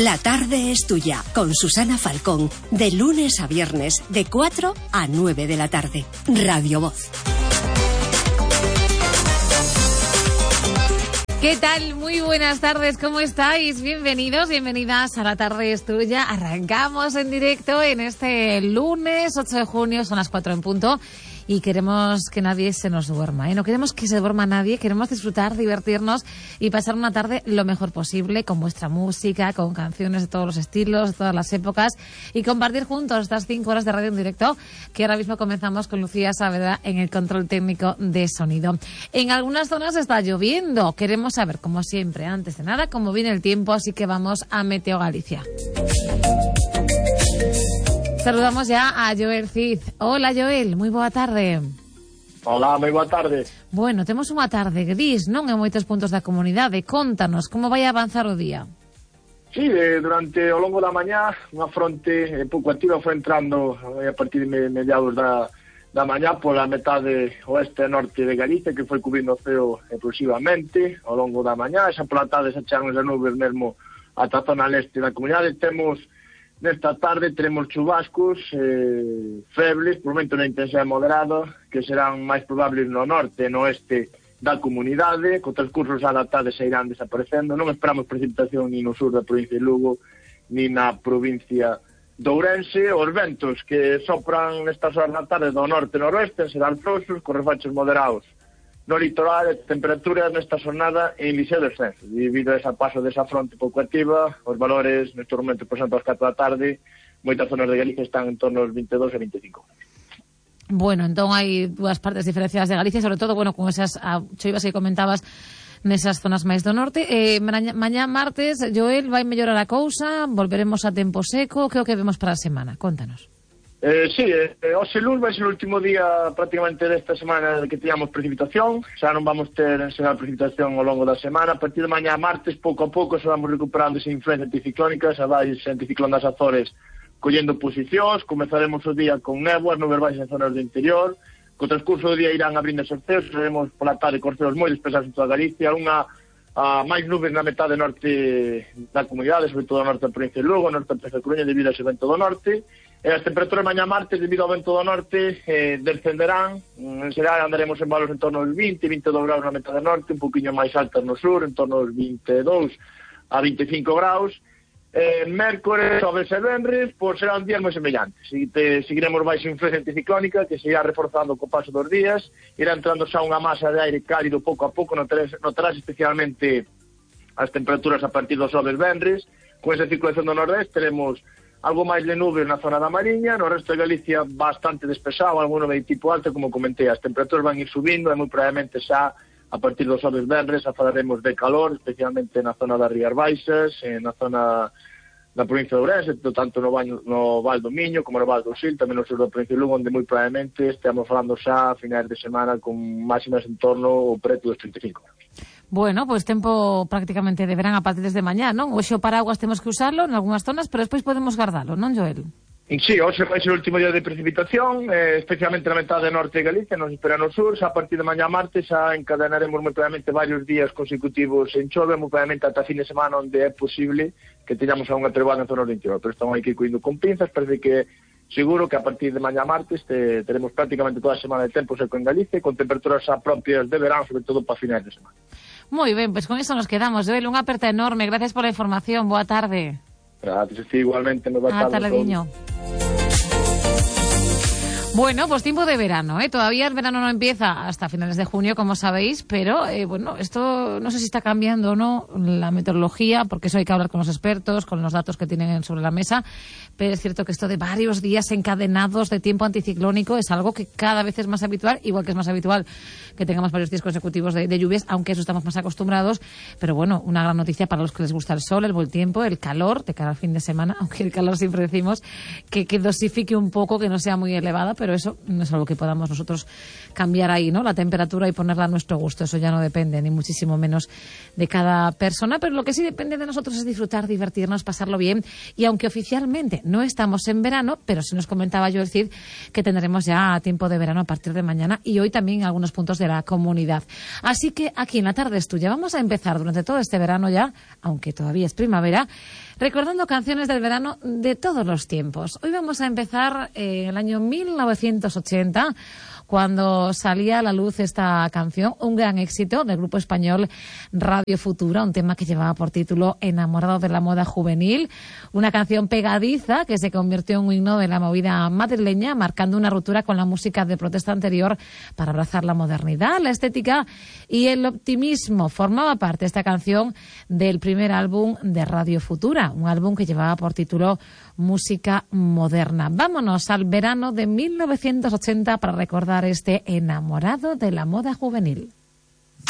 La tarde es tuya, con Susana Falcón, de lunes a viernes, de 4 a 9 de la tarde. Radio Voz. ¿Qué tal? Muy buenas tardes, ¿cómo estáis? Bienvenidos, bienvenidas a La tarde es tuya. Arrancamos en directo en este lunes 8 de junio, son las 4 en punto. Y queremos que nadie se nos duerma, ¿eh? No queremos que se duerma nadie, queremos disfrutar, divertirnos y pasar una tarde lo mejor posible con vuestra música, con canciones de todos los estilos, de todas las épocas y compartir juntos estas 5 horas de radio en directo que ahora mismo comenzamos con Lucía Saavedra en el control técnico de sonido. En algunas zonas está lloviendo, queremos saber, como siempre, antes de nada, cómo viene el tiempo, así que vamos a Meteo Galicia. Saludamos ya a Joel Cid. Hola, Joel, moi boa tarde. Hola, moi boa tarde. Bueno, temos unha tarde gris, non? En moitos puntos da comunidade. Contanos, como vai avanzar o día? Sí, durante o longo da mañá, unha fronte pouco activa foi entrando a partir de mediados da mañá pola metade oeste e norte de Galicia, que foi cubrindo o ceo progresivamente ao longo da mañá. Esa pola tarde se achegan as nubes mesmo ata a zona leste da comunidade. Nesta tarde teremos chubascos febles, por momento na intensidade moderada, que serán máis probables no norte e no oeste da comunidade, co transcurso da tarde se irán desaparecendo. Non esperamos precipitación ni no sur da provincia de Lugo, ni na provincia de Ourense. Os ventos que sopran nestas horas da tarde do norte e noroeste serán frouxos, con refachos moderados no litoral, e temperaturas nesta xornada en lixeiro descenso. Debido a ese paso desa fronte pouco activa, os valores nestes momentos, por exemplo, ás 4 da tarde, moitas zonas de Galicia están en torno aos 22 e 25. Bueno, entón hai dúas partes diferenciadas de Galicia, sobre todo, bueno, con esas choivas que comentabas nesas zonas máis do norte. Mañá martes, Joel, vai mellorar a cousa, volveremos a tempo seco, que é o que vemos para a semana? Contanos. Sí, hoxe luns vai ser o último día prácticamente desta semana que teñamos precipitación. Xa non vamos ter enseñar precipitación ao longo da semana. A partir de mañá martes, pouco a pouco, se vamos recuperando esa influencia anticiclónica, xa vai ese anticiclón das Azores collendo posicións. Comezaremos o día con néboas, nubes baixas en zonas do interior. Co transcurso do día irán abrindo os ceos, seremos pola tarde con ceos moi despesados en toda Galicia, máis nubes na metade norte da comunidade, sobre todo no norte da provincia de Lugo, norte da provincia de Coruña, debido a ese vento do norte. As temperaturas mañá martes, debido ao vento do norte, descenderán. En xeral andaremos en valores en torno aos 20-22 graus na metade norte, un poquinho máis altas no sur, en torno aos 22 a 25 graus. Mércores, xoves e venres, pois serán días moi semellantes. Seguiremos baixo influencia anticiclónica, que se irá reforzando co paso dos días. Irá entrando xa unha masa de aire cálido pouco a pouco, notarás especialmente as temperaturas a partir dos xoves venres. Con esa circulación do nordeste teremos algo máis de nubes na zona da Mariña, no resto de Galicia bastante despexado, alguno de tipo alto, como comentei, as temperaturas van ir subindo e moi probablemente xa a partir dos xoves venres falaremos de calor, especialmente na zona das Rías Baixas, na zona da provincia de Ourense, tanto no Val do Miño como no Val do Sil, tamén no sur da provincia de Lugo, onde moi probablemente estamos falando xa a finais de semana con máximas en torno ao preto dos 35 graus. Bueno, pois tempo prácticamente de verán a partir desde mañá, non? Hoxe o paraguas temos que usarlo en algunhas zonas, pero despois podemos guardalo, non, Joel? Sí, hoxe vai ser o último día de precipitación, especialmente na metade norte de Galicia, nos espera no sur. Xa a partir de mañá martes xa encadenaremos moi probablemente varios días consecutivos en chove, moi probablemente ata fin de semana, onde é posible que teñamos unha treboada en zona do interior, pero estamos aquí coindo con pinzas. Parece que seguro que a partir de mañá martes teremos prácticamente toda a semana de tempo seco en Galicia, con temperaturas xa propias de verán, sobre todo para finais de semana. Moi ben, pois con iso nos quedamos, Joel, unha aperta enorme, gracias pola información, boa tarde. Gracias, igualmente, boa tarde. Ata lediño. Bueno, pues tiempo de verano, ¿eh? Todavía el verano no empieza hasta finales de junio, como sabéis, pero bueno, esto no sé si está cambiando o no la meteorología, porque eso hay que hablar con los expertos, con los datos que tienen sobre la mesa, pero es cierto que esto de varios días encadenados de tiempo anticiclónico es algo que cada vez es más habitual, igual que es más habitual que tengamos varios días consecutivos de lluvias, aunque eso estamos más acostumbrados, pero bueno, una gran noticia para los que les gusta el sol, el buen tiempo, el calor de cara al fin de semana, aunque el calor siempre decimos que dosifique un poco, que no sea muy elevada, pero eso no es algo que podamos nosotros cambiar ahí, ¿no? La temperatura y ponerla a nuestro gusto, eso ya no depende, ni muchísimo menos de cada persona, pero lo que sí depende de nosotros es disfrutar, divertirnos, pasarlo bien, y aunque oficialmente no estamos en verano, pero sí nos comentaba Joel Cid que tendremos ya tiempo de verano a partir de mañana y hoy también en algunos puntos de la comunidad. Así que aquí en La tarde es tuya vamos a empezar durante todo este verano ya, aunque todavía es primavera, recordando canciones del verano de todos los tiempos. Hoy vamos a empezar en el año 1980, cuando salía a la luz esta canción, un gran éxito del grupo español Radio Futura, un tema que llevaba por título Enamorado de la moda juvenil, una canción pegadiza que se convirtió en un himno de la movida madrileña, marcando una ruptura con la música de protesta anterior para abrazar la modernidad, la estética y el optimismo. Formaba parte esta canción del primer álbum de Radio Futura, un álbum que llevaba por título Música Moderna. Vámonos al verano de 1980 para recordar este Enamorado de la moda juvenil.